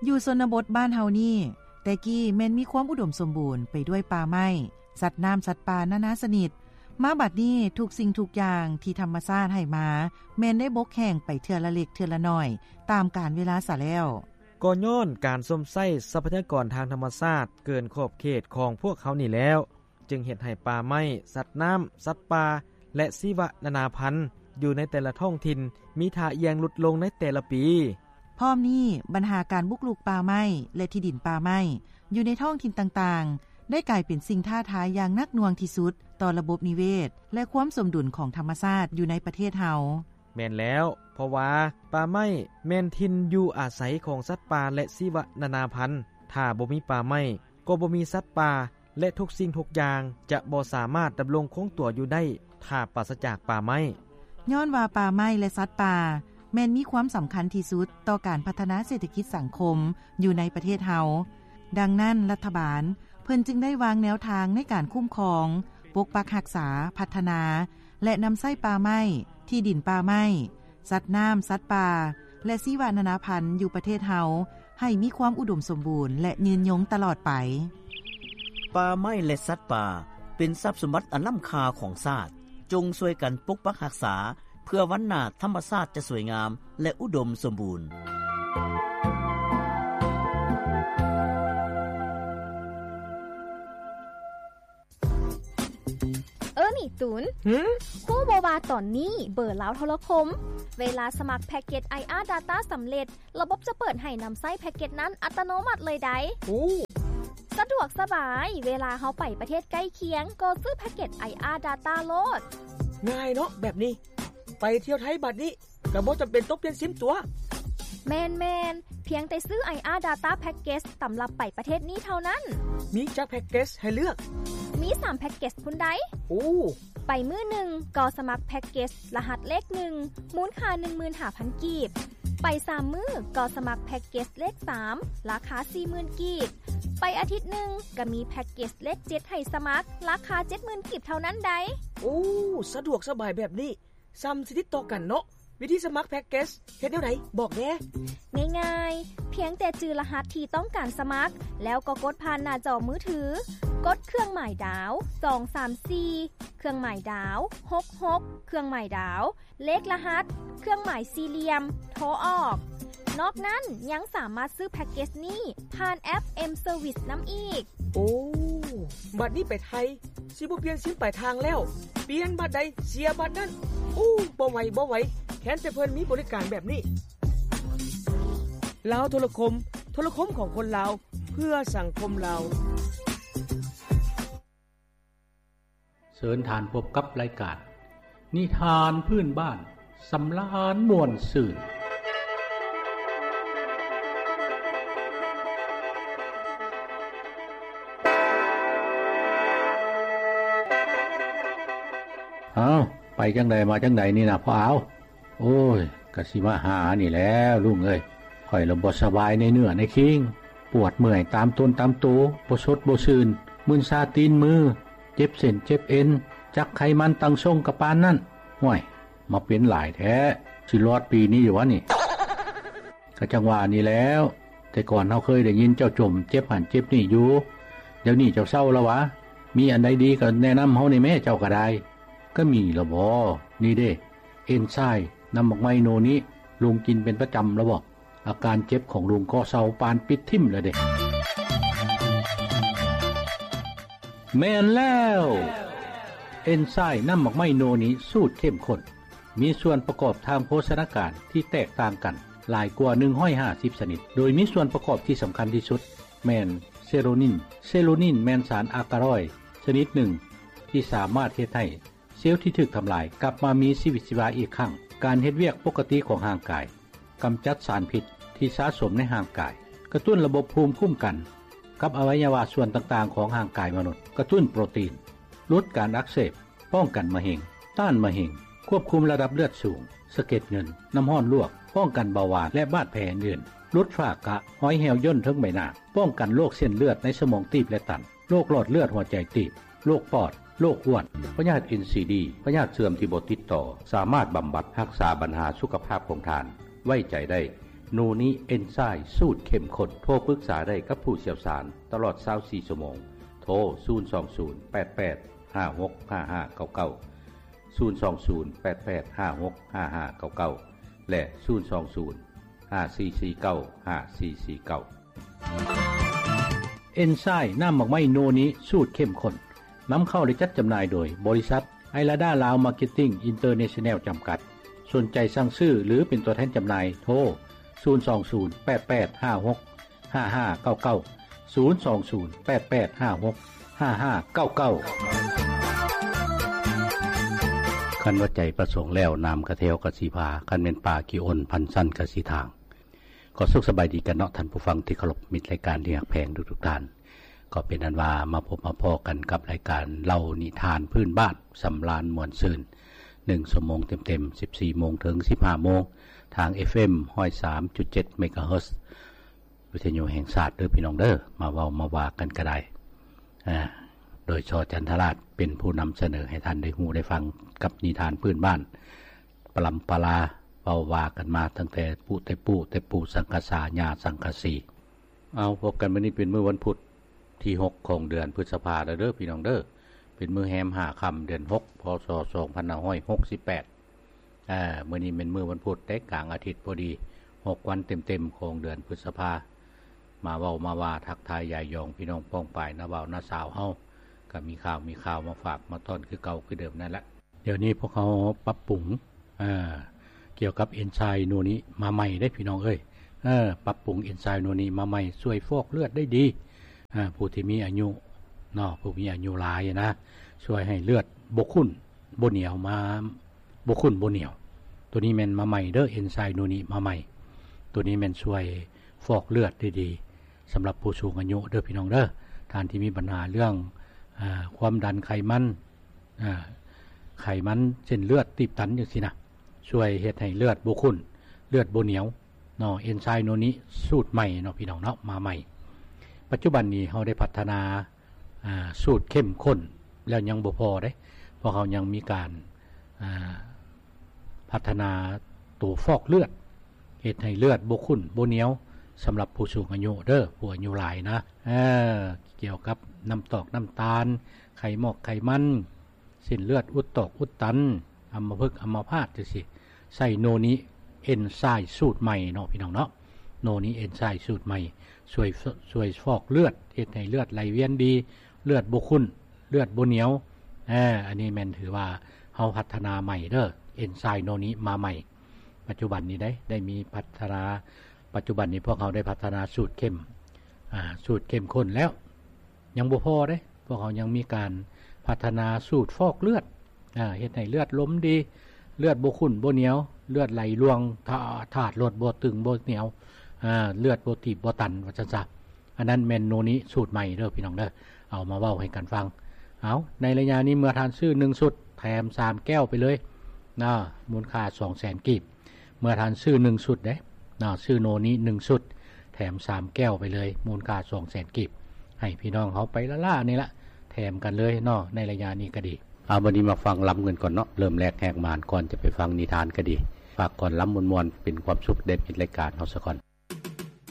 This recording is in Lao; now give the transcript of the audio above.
ຢູ່ຊົນນະບົດບ້ານເຮົານີ້ ແຕ່ກີ້ແມ່ນມີຄວາມອຸດົມສົມບູນໄປດ້ວຍປ່າໄມ້, ສັດນ້ຳ, ສັດປ່ານານາຊະນິດ. ມາບັດນີ້ ທຸກສິ່ງທຸກຢ່າງທີ່ທຳມະຊາດໃຫ້ມາ ແມ່ນໄດ້ບົກແຫ້ງໄປເທື່ອລະເລັກເທື່ອລະໜ້ອຍ ຕາມການເວລາສາແລ້ວ. ກໍຍ້ອນການຊົມໃຊ້ຊັບພະຍາກອນທາງທຳມະຊາດເກີນຂອບເຂດຂອງພວກເຮົານີ້ແລ້ວ ຈຶ່ງເຮັດໃຫ້ປ່າໄມ້, ສັດນ້ຳ, ສັດປ່າ ແລະ ຊີວະນານາພັນ ຢູ່ໃນແຕ່ລະທ້ອງຖິ່ນ ມີທ່າອ່ຽງຫຼຸດລົງໃນແຕ່ລະປີ. ພ້ອມນີ້, ບັນຫາການບຸກລຸກປ່າໄມ້ ແລະ ທີ່ດິນປ່າໄມ້ ຢູ່ໃນທ້ອງຖິ່ນຕ່າງໆ ໄດ້ກາຍເປັນສິ່ງທ້າທາຍຢ່າງໜັກໜ່ວງທີ່ສຸດຕໍ່ລະບົບນິເວດ ແລະ ຄວາມສົມດຸນຂອງທຳມະຊາດຢູ່ໃນປະເທດເຮົາ. ແມ່ນແລ້ວ, ເພາະວ່າປ່າໄມ້ແມ່ນຖິ່ນຢູ່ອາໄສຂອງສັດປ່າ ແລະ ຊີວະນານາພັນ. ຖ້າບໍ່ມີປ່າໄມ້, ກໍບໍ່ມີສັດປ່າ ແລະ ທຸກສິ່ງທຸກຢ່າງຈະບໍ່ສາມາດດຳລົງຄົງຕົວຢູ່ໄດ້ ຖ້າປາສະຈາກປ່າໄມ້. ຍ້ອນວ່າປ່າໄມ້ ແລະ ສັດປ່າ ແມ່ນມີຄວາມສຳຄັນທີ່ສຸດຕໍ່ການພັດທະນາເສດຖະກິດສັງຄົມຢູ່ໃນປະເທດເຮົາ. ດັ່ງນັ້ນ, ລັດຖະບານເພິ່ນຈຶ່ງໄດ້ວາງແນວທາງໃນການຄຸ້ມຄອງ, ປົກປັກຮັກສາ, ພັດທະນາ ແລະ ນຳໃຊ້ປ່າໄມ້, ທີ່ດິນປ່າໄມ້, ສັດນ້ຳ, ສັດປ່າ ແລະ ຊີວະນານາພັນຢູ່ປະເທດເຮົາ ໃຫ້ມີຄວາມອຸດົມສົມບູນ ແລະ ຍືນຍົງຕະຫຼອດໄປ. ປ່າໄມ້ ແລະ ສັດປ່າ ເປັນຊັບສົມບັດອັນລ້ຳຄ່າຂອງຊາດ. ຈົ່ງຊ່ວຍກັນປົກປັກຮັກສາ ເພື່ອວັນໜ້າທຳມະຊາດຈະສວຍງາມ ແລະ ອຸດົມສົມບູນ. ເອີ ນີ້ຕູນ ຫື? ຮູ້ບໍ່ວ່າຕອນນີ້ເບີລາວໂທລະຄົມ ເວລາສະໝັກແພັກເກັດ ໄອອາ Data ສຳເລັດ, ລະບົບຈະເປີດໃຫ້ນຳໃຊ້ແພັກເກັດນັ້ນອັດຕະໂນມັດເລີຍໃດ໋. ໂອ້ ສະດວກສະບາຍ, ເວລາເຮົາໄປປະເທດໃກ້ຄຽງ ກໍຊື້ແພັກເກັດ ໄອອາ Data ໂລດ. ງ່າຍເນາະແບບນີ້. ໄປທ່ຽວໄທບາດນີ້ ກໍບໍ່ຈຳເປັນຕ້ອງປ່ຽນຊິມຕົວະ. ແມ່ນໆ, ພຽງແຕ່ຊື້ ໄອອາ Data Package ສຳລັບໄປປະເທດນີ້ເທົ່ານັ້ນ. ມີຈັກແພັກເກັດໃຫ້ເລືອກ? ມີສາມແພັກເກັດພຸ້ນໃດ໋. ໂອ້ ໄປມື້ໜຶ່ງກໍສະໝັກແພັກເກັດລະຫັດເລກໜຶ່ງ ມູນຄ່າໜຶ່ງໝື່ນຫ້າພັນກີບ. ໄປສາມມື້ກໍສະໝັກແພັກເກັດເລກສາມ ລາຄາສີ່ໝື່ນກີບ. ໄປອາທິດໜຶ່ງກໍມີແພັກເກັດເລກເຈັດໃຫ້ສະໝັກ ລາຄາເຈັດໝື່ນກີບເທົ່ານັ້ນໃດ໋. ໂອ້ ສະດວກສະບາຍແບບນີ້ ສ່ຳຊິຕິດຕໍ່ກັນເນາະ. ວິທີສະໝັກແພັກເກັດເຮັດແນວໃດ? ບອກແດ່. ງ່າຍໆ, ພຽງແຕ່ຈື່ລະຫັດທີ່ຕ້ອງການສະໝັກ ແລ້ວກໍກົດຜ່ານໜ້າຈໍມືຖື, ກົດເຄື່ອງໝາຍດາວ ສອງສາມສີ່ ເຄື່ອງໝາຍດາວ ຫົກຫົກ ເຄື່ອງໝາຍດາວ ເລກລະຫັດ ເຄື່ອງໝາຍສີ່ຫຼ່ຽມ ໂທອອກ. ນອກນັ້ນຍັງສາມາດຊື້ແພັກເກັດນີ້ຜ່ານແອັບ M Service ນຳອີກ. ໂອ້ ບັດນີ້ໄປໄທ ຊິບໍ່ປ່ຽນຊິມປາຍທາງແລ້ວ, ປ່ຽນບັດໃດເສຍບັດນັ້ນ. ໂອ້ ບໍ່ໄຫວ ບໍ່ໄຫວ, ແຄ້ນແຕ່ເພິ່ນມີບໍລິການແບບນີ້. ລາວໂທລະຄົມ, ໂທລະຄົມຂອງຄົນລາວ, ເພື່ອສັງຄົມລາວ. ເຊີນທ່ານພົບກັບລາຍການນິທານພື້ນບ້ານ ສຳລານມ່ວນຊື່ນ. ອ້າວ ໄປຈັ່ງໃດມາຈັ່ງໃດນີ້ນະພໍ່ອາວ? ໂອ້ຍ ກະຊິມາຫານີ້ແຫຼະລຸງເອີຍ, ຂ້ອຍລະບໍ່ສະບາຍໃນເນື້ອໃນຄີງ, ປວດເມື່ອຍຕາມຕົນຕາມໂຕ, ບໍ່ສົດບໍ່ຊື່ນ, ມຶນຊາຕີນມື, ເຈັບເສັ້ນເຈັບເອັນ, ຈັກໄຂມັນຕັ້ງຊົງກະປານນັ້ນ. ຫ້ວຍ ມາເປັນຫຼາຍແທ້, ຊິລອດປີນີ້ຢູ່ຫວານີ້? ກະຈັ່ງວ່ານີ້ແຫຼ້ວ, ແຕ່ກ່ອນເຮົາເຄີຍໄດ້ຍິນເຈົ້າຈົ່ມເຈັບຫັ້ນເຈັບນີ້ຢູ່, ດຽວນີ້ເຈົ້າເຊົາລະຫວາ? ມີອັນໃດດີກະແນະນຳເຮົາແດ່ແມ້, ເຈົ້າກະໄດ້. ກະມີລະບໍ? ນີ້ເດ້ ເອັນຊາຍນ້ຳໝາກໄມ້ໂນນີ້, ລຸງກິນເປັນປະຈຳລະບໍ? ອາການເຈັບຂອງລຸງກໍເຊົາປານປິດຖິ້ມລະເດ້. ແມ່ນແລ້ວ! ເອັນຊາຍນ້ຳໝາກໄມ້ໂນນີ້ສູດເຂັ້ມຂຸ້ນ, ມີສ່ວນປະກອບທາງໂພຊະນາການທີ່ແຕກຕ່າງກັນຫຼາຍກວ່າໜຶ່ງຮ້ອຍຫ້າສິບຊະນິດ, ໂດຍມີສ່ວນປະກອບທີ່ສຳຄັນທີ່ສຸດແມ່ນເຊໂຣນິນ. ເຊໂຣນິນແມ່ນສານອາກາຣອຍຊະນິດໜຶ່ງ ທີ່ສາມາດເຮັດໃຫ້ ເຊວທີ່ຖືກທຳລາຍກັບມາມີຊີວິດຊີວາອີກຄັ້ງ, ການເຮັດວຽກປົກກະຕິຂອງຮ່າງກາຍ, ກຳຈັດສານພິດທີ່ສະສົມໃນຮ່າງກາຍ, ກະຕຸ້ນລະບົບພູມຄຸ້ມກັນກັບອະໄວຍະວະສ່ວນຕ່າງໆຂອງຮ່າງກາຍມະນຸດ, ກະຕຸ້ນໂປຣຕີນ, ຫຼຸດການອັກເສບ, ປ້ອງກັນມະເຮັງ, ຕ້ານມະເຮັງ, ຄວບຄຸມລະດັບເລືອດສູງ, ສະເກັດເງິນ, ນ້ຳຮ້ອນລວກ, ປ້ອງກັນເບົາຫວານ ແລະ ບາດແຜອື່ນໆ, ຫຼຸດຝ້າກະ, ຮອຍແຫ້ວຍ່ນເທິງໃບໜ້າ, ປ້ອງກັນໂລກເສັ້ນເລືອດໃນສະໝອງຕີບ ແລະ ຕັນ. ໂລກຫຼອດເລືອດຫົວໃຈຕີບ, ໂລກປອດ, ໂລກອ້ວນ, ພະຍາດເອັນຊີດີ, ພະຍາດເສື່ອມທີ່ບໍ່ຕິດຕໍ່, ສາມາດບຳບັດຮັກສາບັນຫາສຸຂະພາບຂອງທ່ານໄວ້ໃຈໄດ້ ໂນນິເອັນໄຊລ໌ສູດເຂັ້ມຂຸ້ນ. ໂທປຶກສາໄດ້ກັບຜູ້ຊ່ຽວຊານຕະຫຼອດຊາວສີ່ຊົ່ວໂມງ. ໂທ ສູນສອງສູນ ແປດແປດ ຫ້າຫົກ ຫ້າຫ້າເກົ້າເກົ້າ, ສູນສອງສູນ ແປດແປດ ຫ້າຫົກ ຫ້າຫ້າເກົ້າເກົ້າ ແລະ ສູນສອງສູນ ຫ້າສີ່ສີ່ເກົ້າ ຫ້າສີ່ສີ່ເກົ້າ. ເອັນໄຊລ໌ນ້ຳໝາກໄມ້ໂນນິສູດເຂັ້ມຂຸ້ນ ນຳເຂົ້າ ແລະ ຈັດຈຳໜ່າຍໂດຍ ບໍລິສັດ ໄອລາດາ ລາວ ມາເກັດຕິ້ງ ອິນເຕີເນຊັນແນລ ຈຳກັດ. ສົນໃຈສັ່ງຊື້ ຫຼື ເປັນຕົວແທນຈຳໜ່າຍ ໂທ ສູນສອງສູນ ແປດແປດ ຫ້າຫົກ ຫ້າຫ້າເກົ້າເກົ້າ, ສູນສອງສູນ ແປດແປດ ຫ້າຫົກ ຫ້າຫ້າເກົ້າເກົ້າ. ຄັນວ່າໃຈປະສົງແລ້ວ ນ້ຳກະແທວກະຊິພາ, ຄັນແມ່ນປ່າຂີ້ອົນ ພັນຊັ້ນກະຊິທາງ. ກໍສຸກສະບາຍດີກັນເນາະ ທ່ານຜູ້ຟັງທີ່ເຄົາລົບ, ມິດລາຍການທີ່ຮັກແພງທຸກໆທ່ານ. ກໍເປັນອັນວ່າມາພົບມາພໍ້ກັນກັບລາຍການເລົ່ານິທານພື້ນບ້ານ ສຳລານມ່ວນຊື່ນ ໜຶ່ງຊົ່ວໂມງເຕັມໆ ສິບສີ່ໂມງເຖິງສິບຫ້າໂມງ ທາງ ເອັຟເອັມ ຮ້ອຍສາມຈຸດເຈັດ ເມກາເຮີດ ວິທະຍຸແຫ່ງຊາດເດີພີ່ນ້ອງເດີ. ມາເວົ້າມາວ່າກັນກໍໄດ້ ອາ ໂດຍ ຊ ຈັນທະລາດ ເປັນຜູ້ນຳສະເໜີໃຫ້ທ່ານໄດ້ຮູ້ໄດ້ຟັງກັບນິທານພື້ນບ້ານ ປະລຳປະລາ ເວົ້າວ່າກັນມາຕັ້ງແຕ່ປູ່ແຕ່ປູ່ ແຕ່ປູ່ສັງກະສາ ຍ່າສັງກະສີ. ເອົາ ພົບກັນມື້ນີ້ເປັນມື້ວັນພຸດທີຫົກຂອງເດືອນພຶດສະພາແລ້ວເດີພີ່ນ້ອງເດີ. ເປັນມື້ແຮມຫ້າຄ່ຳເດືອນຫົກ ພ.ສ. ສອງພັນຫ້າຮ້ອຍຫົກສິບແປດ. ອາ ມື້ນີ້ແມ່ນມື້ວັນພຸດເດ້ ກາງອາທິດພໍດີ ຫົກວັນເຕັມໆຂອງເດືອນພຶດສະພາ. ມາເວົ້າມາວ່າທັກທາຍຢາຍຢອງພີ່ນ້ອງປ້ອງປາຍ ນ້າບ່າວນ້າສາວເຮົາ ກໍມີຂ່າວມີຄາວມາຝາກມາຕ້ອນຄືເກົ່າຄືເດີມນັ້ນແຫຼະ. ດຽວນີ້ພວກເຮົາປັບປຸງ ເອີ ກ່ຽວກັບເອັນໄຊໂນນິມາໃໝ່ເດ້ພີ່ນ້ອງເອີຍ. ເອີ ປັບປຸງເອັນໄຊໂນນິມາໃໝ່ ຊ່ວຍຟອກເລືອດໄດ້ດີ. ເອີ ຜູ້ທີ່ມີອາຍຸເນາະ ຜູ້ມີອາຍຸຫຼາຍນະ ຊ່ວຍໃຫ້ເລືອດບໍ່ຂຸ້ນບໍ່ໜຽວ ມາ ບໍ່ຂຸ້ນບໍ່ໜຽວ. ໂຕນີ້ແມ່ນມາໃໝ່ເດີ ເອັນໄຊໂນນິມາໃໝ່. ໂຕນີ້ແມ່ນຊ່ວຍຟອກເລືອດໄດ້ດີ ສຳລັບຜູ້ສູງອາຍຸເດີພີ່ນ້ອງເດີ. ທ່ານທີ່ມີບັນຫາເລື່ອງ ອາ ຄວາມດັນໄຂມັນ ອາ ໄຂມັນເສັ້ນເລືອດຕີບຕັນຈັ່ງຊີ້ນະ ຊ່ວຍເຮັດໃຫ້ເລືອດບໍ່ຂຸ້ນ ເລືອດບໍ່ໜຽວເນາະ. ເອັນໄຊໂນນິສູດໃໝ່ເນາະພີ່ນ້ອງເນາະ ມາໃໝ່. ປັດຈຸບັນນີ້ເຮົາໄດ້ພັດທະນາ ອາ ສູດເຂັ້ມຂຸ້ນແລ້ວຍັງບໍ່ພໍເດ້ ພວກເຮົາຍັງມີການ ອາ ພັດທະນາໂຕຟອກເລືອດ ເຮັດໃຫ້ເລືອດບໍ່ຂຸ້ນບໍ່ໜຽວ ສຳລັບຜູ້ສູງອາຍຸເດີ ຜູ້ອາຍຸຫຼາຍນະ. ເອີ ກ່ຽວກັບນ້ຳຕອກນ້ຳຕານ ໄຂໝອກໄຂມັນ ເສັ້ນເລືອດອຸດຕອກອຸດຕັນ ອຳມະພຶກອຳມະພາດຈັ່ງຊີ້ ໃຊ້ໂນນິເອັນໄຊສູດໃໝ່ເນາະພີ່ນ້ອງເນາະ. ໂນນິເອັນໄຊສູດໃໝ່ ຊ່ວຍ ຊ່ວຍຟອກເລືອດ ເຮັດໃຫ້ເລືອດໄຫຼວຽນດີ ເລືອດບໍ່ຂຸ້ນ ເລືອດບໍ່ໜຽວ. ອາ ອັນນີ້ແມ່ນຖືວ່າເຮົາພັດທະນາໃໝ່ເດີ ເອັນໄຊໂນນິມາໃໝ່. ປັດຈຸບັນນີ້ໄດ້ ໄດ້ມີພັດທະນາ ປັດຈຸບັນນີ້ພວກເຮົາໄດ້ພັດທະນາສູດເຂັ້ມ ອາ ສູດເຂັ້ມຂຸ້ນແລ້ວ ຍັງບໍ່ພໍເດ້ ພວກເຮົາຍັງມີການພັດທະນາສູດຟອກເລືອດ ອາ ເຮັດໃຫ້ເລືອດລົມດີ ເລືອດບໍ່ຂຸ້ນບໍ່ໜຽວ ເລືອດໄຫຼລ່ວງ ທາ ທາດລົດບໍ່ຕຶງບໍ່ໜຽວ ອາ ເລືອດບໍ່ຕີບບໍ່ຕັນ ວ່າຊັ້ນຊະ. ອັນນັ້ນແມ່ນໂນນິສູດໃໝ່ເດີພີ່ນ້ອງເດີ ເອົາມາເວົ້າໃຫ້ກັນຟັງ. ເອົາ ໃນໄລຍະນີ້ເມື່ອທ່ານຊື້ໜຶ່ງຊຸດ ແຖມສາມແກ້ວໄປເລີຍນະ ມູນຄ່າສອງແສນກີບ. ເມື່ອທ່ານຊື້ໜຶ່ງຊຸດເດ້ເນາະ ຊື້ໂນນິໜຶ່ງຊຸດ ແຖມສາມແກ້ວໄປເລີຍ ມູນຄ່າສອງແສນກີບ ໃຫ້ພີ່ນ້ອງເຮົາໄປລ້າໆນີ້ລະ ແຖມກັນເລີຍເນາະ ໃນໄລຍະນີ້ກໍດີ. ເອົາ ບັດນີ້ມາຟັງລຳເງິນກ່ອນເນາະ ເລີ່ມແລກແຮກມານ ກ່ອນຈະໄປຟັງນິທານກໍດີ ຝາກກ່ອນລຳມ່ວນໆ ເປັນຄວາມສຸກແດ່ມິດລາຍການເຮົາສາກ່ອນ.